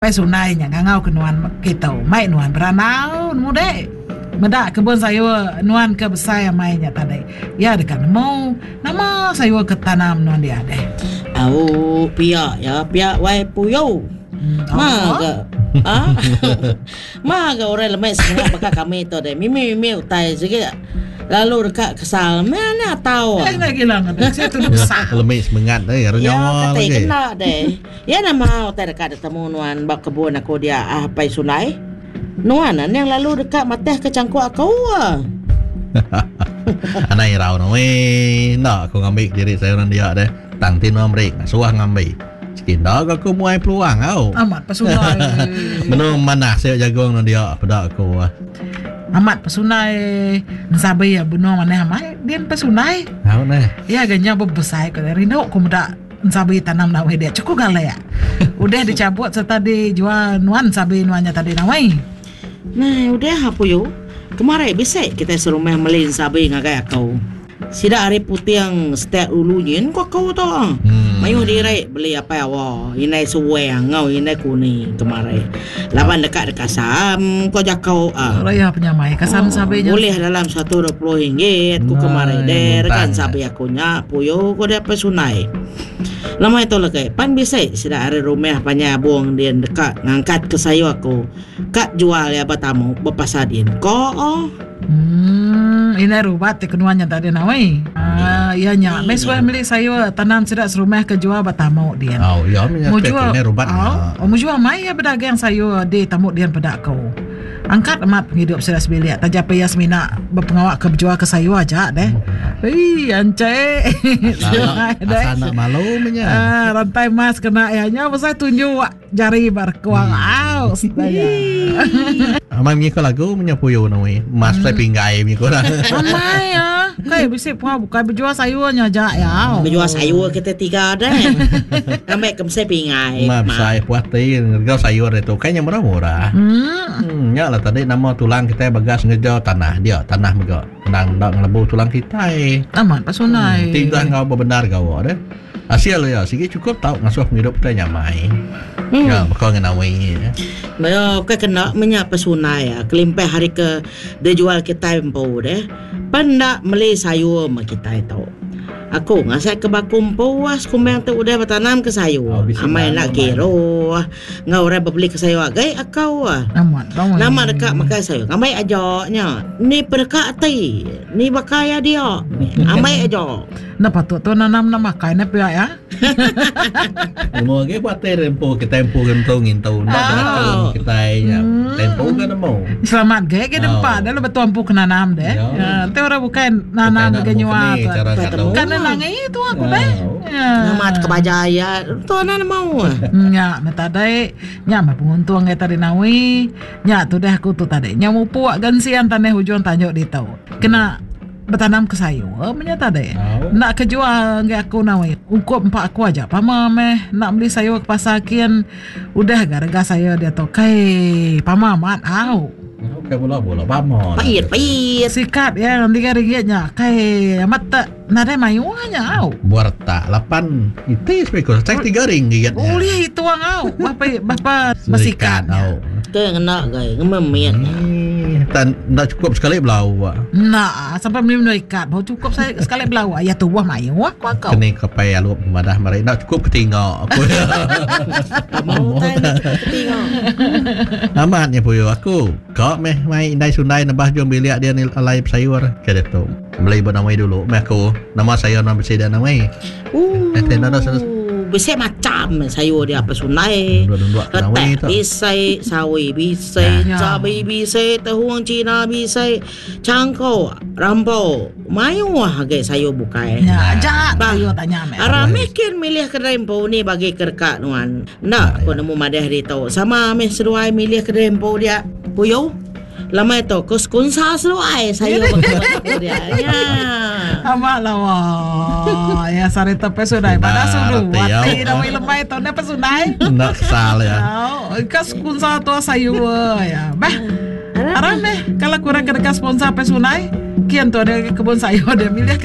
Pai Sunai nya ngangau ke nuan kitu mai nuan berandau nemu dek. Meda kebun sayur nuan ke besai amai nya tadi. Iya deka nemu nama sayur ke tanam nuan dia deh. Au pia ya pia wai puyu. Ma ga ha ma ga orang lemek semengat baka kami tu deh mimi mimi utai sigi lalu deka kesal meh anak tau. Eh gila ngadu sia tu besar. Lemek semengat deh nyawa lagi. Kena deh. Iya nama utai deka ditemu nuan ba kebun aku dia ah Apai Sulai? Nuan aning lalu deka matihka changkuk aku ah. Anang irau nuan enda aku ngambi kediri sayuran dia deh. Tang ti nuan meri ngasuh ngambi. Sigi enda ga aku muai peluang au. Amat pesunai. Benung manah sayur jagung nuan dia peda aku. Amat pesunai ensabi benung manah amai din pesunai. Au neh. Iya ga nya bebesai ku rindu ku meda. Ensabi tanam nawai dia cukup galak. Udah dicabut serta dijual nuan ensabi nuan nya tadi nawai. Nah udah apu yu. Kemari bisi kitai serumah meli ensabi ngagai aku. Sida ari puting setak ulu nyin ku aku tu. Mayuh diri beli apai awa indai suang enggau indai kuni kemari. Laban deka dikasam ko jaku. Raya penyamai kasam ensabi nya. Bulih dalam 120 ringgit ku kemari deh rega ensabi aku. Ku nya puyu ku deh apai Sunai. Lemai tu legi pan bisi sida ari rumah panjai abung din deka ngangkat ke sayur aku ka jual iya ba tamu ba pasar din ko. Emm indai rubat ti kenuan nya tadi nawai. Aaa iya nya meh suah meli sayur tanam sida serumah ke jual ba tamu din. Au iya meh nya indai rubat nya. Au mujur amai iya bedagang sayur di tamu din peda ku. Angkat amat pengidup sida sebilik taja pa iya semina bepengawa ke bejual ke sayur aja deh. Ii anchai. Asal enda malu meh nya. Ah rantai emas kena iya nya besai tunjuk jari ba rekuang au. Amai munyi ko lagu meh nya puyu nui. Emas besai pinggai munyi ko orang. Amai ah. Kai bisi pengawa bukai bejual sayur nya aja iya. Bejual sayur kita tiga deh. Ngambi ke mesai pingai. Ma besai puas ti ngerega sayur ditu kai nya murah-murah. Hmm. Nya lah tadi nama tulang kitai bagas ngereja tanah dia tanah mega endang enda ngelebu tulang kitai. Amat pa sunai. Hmm. Ti udah enggau bebendar gawa deh. Asil iya sigi chukup tau ngasuh pengidup kitai nyamai. Hmm. Ya baka ngan awi. Maya ke kena menya pesunai kelimpah hari ke dijual kitai empu deh. Pan enda meli sayur meh kitai tu. Aku ngasai ke baku empu ah sekumbang tu udah betanam ke sayur. Amai enda kiruh enggau orang bebeli ke sayur agi aku ah. Nama deka makai sayur ngambi aja nya. Ni peneka ati ni baka iya dia ambi aja. Enda patut tu nanam enda makai ne pia iya. Nemu agi buat ti empu kitai empu ke ngentu ngintu enda diracun kitai nya. Kitai empu ke nemu. Selamat ge ge dempa deh lu betul empu ke nanam deh. Enti orang bukai nanam ge nyua tu. Kan ne nangi tu aku deh. Nama ke baja iya tu ana nemu. Nya meh tadi nya meh penguntung iya tadi nawi. Nya tudah aku tu tadi. Nya mupuk gensian tanah ujung tanju ditu. Kena Betanam ke sayur meh nya tadi. Enda ke jual enggai aku nawi. Ungkup empa aku aja pama meh enda meli sayur ke pasar kin. Udah ga rega sayur diatu kai pama amat au. Kai bula bula pama. Pait pait. Sikat iya tiga ringgit nya kai amat te nadai mayuh nya au. Buah retak lapan iti sepikul sai tiga ringgit nya. Ulih itung au berapa berapa besikat nya. Ke ngena gai ngememit nya. Tan enda cukup sekali belauk. Enda sampai meli menu ikat baru cukup sekali belauk. Ya tubuh mayuh aku aku. Keni ke pai alup madah meri enda cukup ketinga aku. Mau tai enda cukup ketinga. Amat nya puyu aku. Ka meh mai indai sundai nebah jung bilik dia ni alai besayur ke ditu. Beli ba nawai dulu meh aku. Nama sayur nuan bisi dia nawai. Ooh. Bisi macam sayur dia apa sunai. Retak bisi, sawi bisi, cabi bisi, tehuang cina bisi, cangkok, rampo. Mayuh agi sayur bukai. Ya, aja sayur tanya meh. Aram meh kin milih kedai empu ni bagi ke deka nuan. Enda aku nemu madah ditu. Sama meh seduai milih kedai empu dia. Puyu. Lamai tu ku sekunsa seduai sayur baka aku dia. Nya. Amat lawa. Ya sari tu pe sudai pada sudu. Ati dah wei lemai tu ne pe sudai. Enda kesal ya. Ka sekunsa tu sayur ya. Bah. Aram meh kalau kurang ke deka sponsor pe sunai. Kian tu ada kebun sayur dia milih ke.